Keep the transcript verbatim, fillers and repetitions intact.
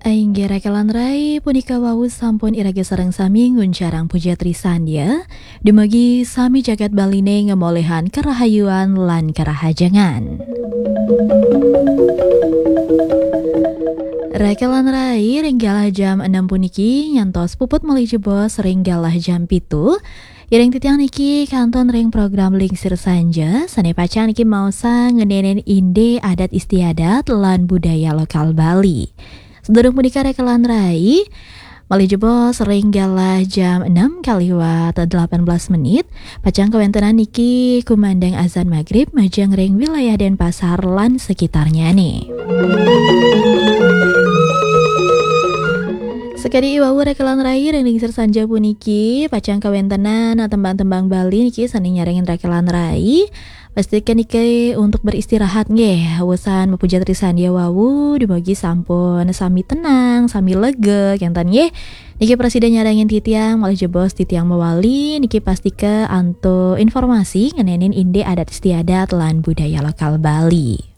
Inggih raka lan rai, punika wau sampun iraga sareng sami nguncarang puja trisandya. Dumugi sami jagat Baline ngamolehan karahayuan lan karahajengan. Raka lan rai, ring galah jam enam puniki nyantos puput malih jebos ring galah jam pitu. Iring titiang niki kantun ring program Lingsir Sanja, sane pacang niki maosang ngeninin indik adat istiadat lan budaya lokal Bali. Sadurung punika raka lan rai, malih jebos ring galah jam enam kaliwat delapan belas menit, pacang kawentenan niki kumandang azan magrib majeng ring wilayah Denpasar lan sekitarnyane. Sakadi iwau raka lan rai, ring Lingsir Sanja puniki pacang kawentenan tembang-tembang Bali niki sane nyarengin raka lan rai. Pastika niki untuk beristirahat nggih, wusan mapuja trisandya wau, dumugi sampun sami tenang, sami lega kenten nggih. Niki prasida nyarengin titiang, malih jebos titiang mawali, niki pastika antuk informasi ngeninin indik adat istiadat lan budaya lokal Bali.